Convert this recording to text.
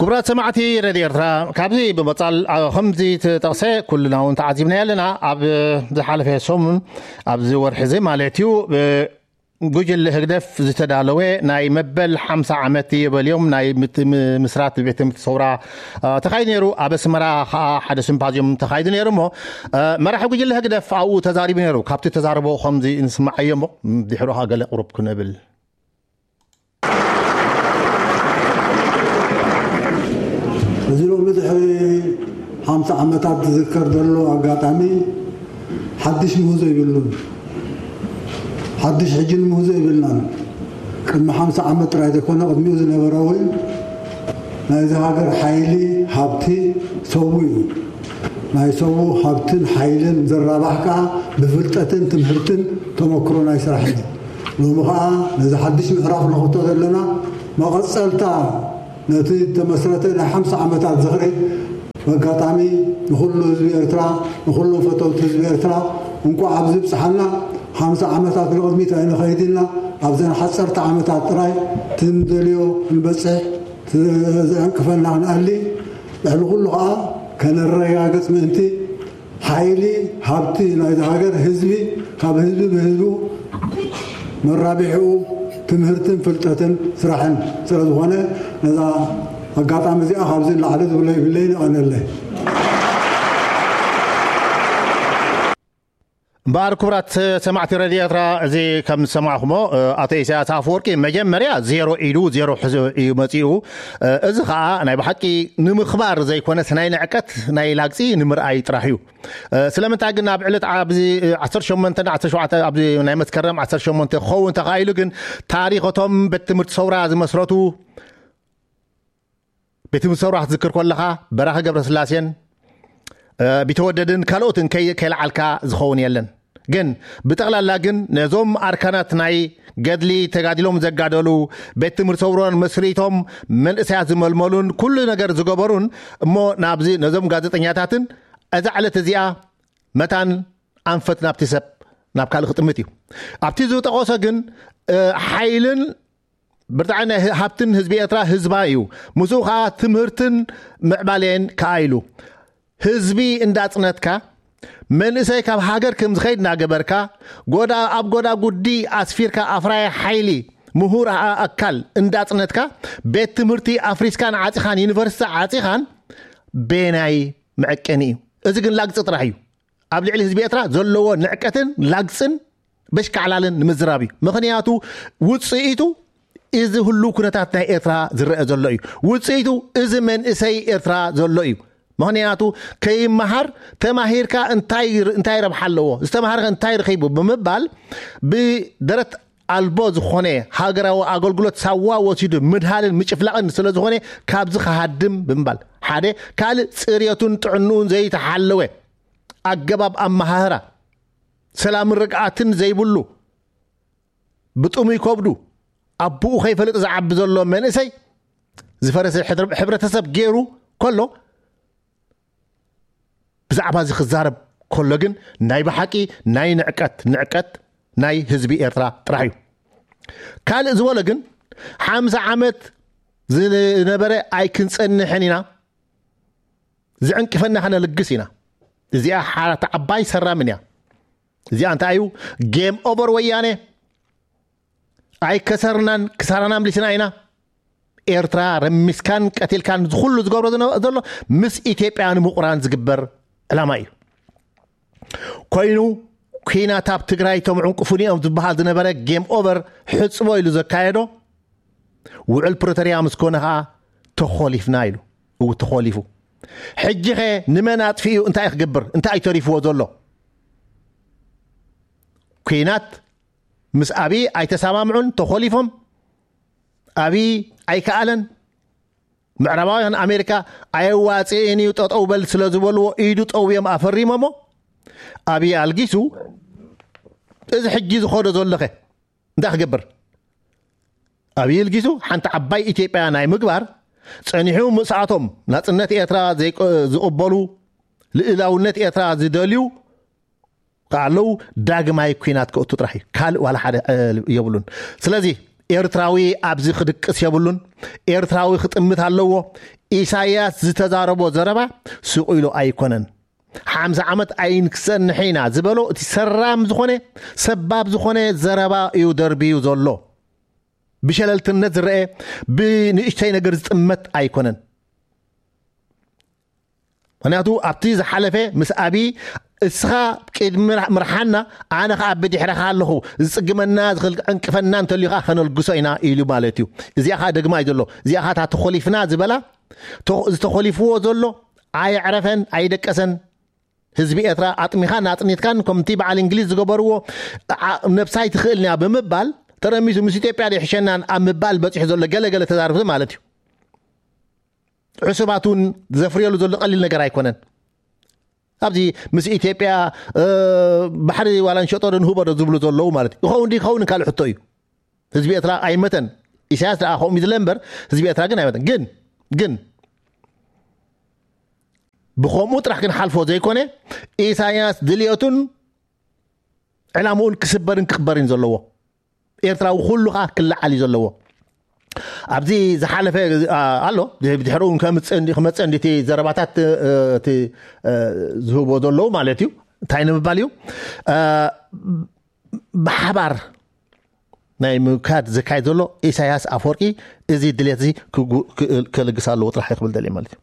ክቡራት ሰማዕቲ ሬድዮ ኤርትራ፣ ካብዚ ብምቕጻል፣ ኣ፣ ከምዚ ተጠቕሰ ኩልና እውን ተዓዚብናዮ ኣለና። ኣብ ዝሓለፈ ሰሙን፣ ኣብዚ ወርሒ እዚ ማለት እዩ፣ ብ-፣ ጉጅለ ህግደፍ ዝተዳለወ ናይ መበል ሓምሳ ዓመት የበልዮም ናይ ምት-፣ ም-፣ ምስራት ቤት ትምህርቲ ሰውራ፣ ኣ፣ ተኻይዱ ነይሩ። ኣብ ኣስመራ ኸኣ ሓደ ሲምፓዝዮም ተኻይዱ ነይሩ እሞ፣ ኣ፣ መራሒ ጉጅለ ህግደፍ ኣብኡ ተዛሪቡ ነይሩ። ካብቲ ተዛረቦ ከምዚ ንስማዓዮ እሞ፣ ድሕሩ ኸኣ ገለ ቁሩብ ክንብል። እዚ ሎሚ ድሕሪ ሓምሳ ዓመታት ዝዝከር ዘሎ ኣጋጣሚ ሓድሽ ምህዞ የብሉን። ሓድሽ ሕጂ ንምህዞ የብልናን። ቅድሚ ሓምሳ ዓመት ጥራይ ዘይኮነ፣ ቅድሚኡ ዝነበረ እውን ናይዚ ሃገር ሓይሊ፣ ሃብቲ፣ ሰቡ እዩ። ናይ ሰቡ ሃብትን ሓይልን ዝራባሕ ከኣ ብፍልጠትን ትምህርትን ተመክሮ ናይ ስራሕን እዩ። ሎሚ ከኣ ነዚ ሓድሽ ምዕራፍ ንኸፍቶ ዘለና መቐጸልታ ነቲ ዝተመስረተ ናይ ሓምሳ ዓመታት ዝኽሪ፣ በኣጋጣሚ ንኹሉ ህዝቢ ኤርትራ፣ ንኹሎም ፈተውቲ ህዝቢ ኤርትራ እንቋዕ ኣብዚ ብጽሓና። ሓምሳ ዓመታት ንቕድሚት ኣይንኸይድ ኢልና፣ ኣብዘን ሓጸርቲ ዓመታት ጥራይ እቲ ንደልዮ ክንበጽሕ፣ እቲ ዘዕንቅፈና ክንኣሊ፣ ልዕሊ ኩሉ ኸኣ ከነረጋግጽ ምእንቲ፣ ሓይሊ፣ ሃብቲ ናይዚ ሃገር ህዝቢ፣ ካብ ህዝቢ ብህዝቡ መራቢሕኡ ትምህርትን ፍልጠትን ስራሕን ስለ ዝኾነ፣ ነዛ ኣጋጣሚ እዚኣ ካብዚ ንላዕሊ ዝብሎ ይብለይን፣ የቐንየለይ። እምበኣር ክቡራት ሰማዕቲ ሬድዮ ኤርትራ፣ እዚ ከም ዝሰማዕኹሞ፣ እ፣ ኣቶ ኢሳያስ ኣፈወርቂ መጀመርያ ዜሮ ኢሉ ዜሮ ሒዙ እዩ መጺኡ። እ፣ እዚ ኸኣ ናይ ብሓቂ ንምኽባር ዘይኮነስ ናይ ንዕቀት፣ ናይ ላግጺ ንምርኣይ ጥራሕ እዩ። እ፣ ስለምንታይ ግን ኣብ ዕለት ኣብዚ፣ እ፣ ዓሰርተ ሸሞንተ ዓሰርተ ሸውዓተ ኣብዚ ናይ መስከረም ዓሰርተ ሸሞንተ ክኸውን ተኻኢሉ ግን ታሪኽ እቶም ቤት ትምህርቲ ሰውራ ዝመስረቱ ቤት ትምህርቲ ሰውራ ክትዝክር ከለኻ በራኺ ገብረስላሴን፣ እ፣ ቢተወደድን ካልኦትን ከይ-፣ ከይለዓልካ ዝኸውን የለን። ግን ብጠቕላላ ግን ነዞም ኣርካናት ናይ ገድሊ ተጋዲሎም ዘጋደሉ፣ ቤት ትምህርቲ ሰውራን መስሪቶም መንእሰያት ዝመልመሉን ኩሉ ነገር ዝገበሩን እሞ ናብዚ ነዞም ጋዜጠኛታትን እዛ ዕለት እዚኣ መታን ኣንፈት ናብቲ ሰብ ናብ ካልእ ክጥምት እዩ። ኣብቲ ዝጠቐሶ ግን፣ እ፣ ሓይልን ብርትዓን ናይ ህ-፣ ሃብትን ህዝቢ ኤርትራ ህዝባ እዩ። ምስኡ ከኣ ትምህርትን ምዕባሌን ከኣ ኢሉ። ህዝቢ እንዳጽነትካ፣ መንእሰይ ካብ ሃገር ከም ዝኸይድ እናገበርካ፣ ጎዳ-፣ ኣብ ጎዳጉዲ ኣስፊርካ ኣፍራይ ሓይሊ፣ ምሁር ኣ-፣ ኣካል እንዳጽነትካ፣ ቤት ትምህርቲ ኣፍሪስካን ዓጺኻን፣ ዩኒቨርሲቲ ዓጺኻን፣ ቤናይ መዐቀኒ እዩ። እዚ ግን ላግጺ ጥራሕ እዩ። ኣብ ልዕሊ ህዝቢ ኤርትራ ዘለዎ ንዕቀትን ላግጽን በሽካዕላልን ንምዝራብ እዩ። ምኽንያቱ ውጽኢቱ እዚ ህሉው ኩነታት ናይ ኤርትራ ዝረአ ዘሎ እዩ። ውጽኢቱ እዚ መንእሰይ ኤርትራ ዘሎ እዩ። ምኽንያቱ ከይመሃር፣ ተማሂርካ እንታይ ር-፣ እንታይ ረብሓ ኣለዎ? ዝተማሃረ እንታይ ረኺቡ? ብምባል ብደረት ኣልቦ ዝኾነ ሃገራዊ ኣገልግሎት ሳዋ ወሲዱ ምድሃልን ምጭፍላቕን ስለ ዝኾነ ካብዚ ክሃድም ብምባል፣ ሓደ ካልእ ጽርየቱን ጥዕንኡን ዘይተሓለወ ኣገባብ ኣመሃህራ፣ ሰላምን ርግኣትን ዘይብሉ፣ ብጥሙይ ከብዱ ኣቦኡ ከይፈልጥ ዝዓቢ ዘሎ መንእሰይ፣ ዝፈረሰ ሕብረ-፣ ሕብረተሰብ ገይሩ ከሎ፣ ብዛዕባ እዚ ክዛረብ ከሎ ግን ናይ ብሓቂ ናይ ንዕቀት፣ ንዕቀት ናይ ህዝቢ ኤርትራ ጥራሕ እዩ። ካልእ ዝበሎ ግን ሓምሳ ዓመት ዝነበረ ኣይክንጸንሕን ኢና፣ ዝዕንቅፈና ከነልግስ ኢና። እዚኣ ሓራት ዓባይ ሰራምን እያ። እዚኣ እንታይ እዩ? ጌም ኦቨር ወያነ። ኣይከሰርናን፣ ክሳራና ኣምሊስና ኢና። ኤርትራ ረሚስካን ቀቲልካን ዝኹሉ ዝገብሮ ዝነ-፣ ዘሎ ምስ ኢትዮጵያ ንምቑራን ዝግበር ዕላማ እዩ። ኮይኑ፣ ኲናት ኣብ ትግራይ እቶም ዕንቅፉኒ እዮም ዝበሃል ዝነበረ ጌም ኦቨር ሕጽቦ ኢሉ ዘካየዶ፣ ውዕል ፕሪቶርያ ምስ ኮነ ኸኣ ተኾሊፍና ኢሉ። እው፣ ተኾሊፉ። ሕጂ ኸ ንመን ኣጥፊኡ እንታይ ክገብር? እንታይ እዩ ተሪፍዎ ዘሎ? ኲናት ምስ ኣብይ ኣይተሰማምዑን፣ ተኾሊፎም። ኣብይ ኣይከኣለን። ምዕራባውያን፣ ኣሜሪካ ኣየዋጽእን እዩ፣ ጠጠው በል ስለ ዝበልዎ ኢዱ ጠውዮም ኣፈሪሞሞ። ኣብይ ኣልጊሱ፣ እዚ ሕጂ ዝኸዶ ዘሎ ኸ እንታይ ክገብር? ኣብይ ኣልጊሱ ሓንቲ ዓባይ ኢትዮጵያ ናይ ምግባር ጸኒሑ፣ ምስኣቶም ናጽነት ኤርትራ ዘይቀ-፣ ዝቕበሉ፣ ልእላውነት ኤርትራ ዝደልዩ ከኣለዉ ዳግማይ ኲናት ከእቱ ጥራሕ እዩ። ካልእ ዋላ ሓደ፣ እ፣ የብሉን። ስለዚ ኤርትራዊ ኣብዚ ክድቅስ የብሉን። ኤርትራዊ ክጥምት ኣለዎ። ኢሳያስ ዝተዛረቦ ዘረባ ስቕ ኢሉ ኣይኮነን። ሓምሳ ዓመት ኣይን ክሰንሕ ኢና ዝበሎ እቲ ሰራም ዝኾነ፣ ሰባብ ዝኾነ ዘረባ እዩ ደርብዩ ዘሎ። ብሸለልትነት ዝረአ፣ ብንእሽተይ ነገር ዝጥመት ኣይኮነን። ምክንያቱ ኣብቲ ዝሓለፈ ምስ ኣብይ እስኻ ቅድሚ ምርሓና ኣነ ከዓ ብድሕረኻ ኣለኹ፣ ዝፅግመና ዝኽእል ዕንቅፈና እንተልዩ ከዓ ከነልግሶ ኢና ኢሉ ማለት እዩ። እዚኣ ከዓ ደግማ እዩ ዘሎ። እዚኣ ከዓ እታ ተኾሊፍና ዝበላ፣ ተ- ዝተኾሊፍዎ ዘሎ ኣየዕረፈን ኣይደቀሰን። ህዝቢ ኤርትራ ኣጥሚኻን ኣጥኒትካን ከምቲ በዓል እንግሊዝ ዝገበርዎ፣ ዓ- ነብሳይ ትኽእልንያ ብምባል ተረሚሱ ምስ ኢትዮጵያ ዘይሕሸናን ኣብ ምባል በፂሑ ዘሎ ገለገለ ተዛርብቲ ማለት እዩ። ዕሱባት እውን ዘፍርየሉ ዘሎ ቀሊል ነገር ኣይኮነን። ኣብዚ ምስ ኢትዮጵያ ባሕሪ ዋላ ንሸጦ ዶ ንህቦ ዶ ዝብሉ ዘለዉ ማለት እዩ። ይኸውን ዶ ይኸውን ካልእ ሕቶ እዩ። ህዝቢ ኤርትራ ኣይመተን። ኢሳያስ ደኣ ከምኡ ዝለ እምበር ህዝቢ ኤርትራ ግን ኣይመተን። ግን ግን ብኸምኡ ጥራሕ ክንሓልፎ ዘይኮነ፣ ኢሳያስ ድልየቱን ዕላምኡን ክስበርን ክኽበርን ዘለዎ፣ ኤርትራዊ ኩሉ ከዓ ክለዓል እዩ ዘለዎ። ኣብዚ ዝሓለፈ ኣሎ፣ ድሕርኡ ክመፅእ እንዲ ዘረባታት እቲ ዝህቦ ዘለዉ ማለት እዩ። እንታይ ንምባል እዩ? ብሓባር ናይ ምካድ ዝካየድ ዘሎ ኢሳያስ ኣፈወርቂ እዚ ድሌት እዚ ከልግስ ኣለዎ ጥራሕ ክብል ደልየ ማለት እዩ።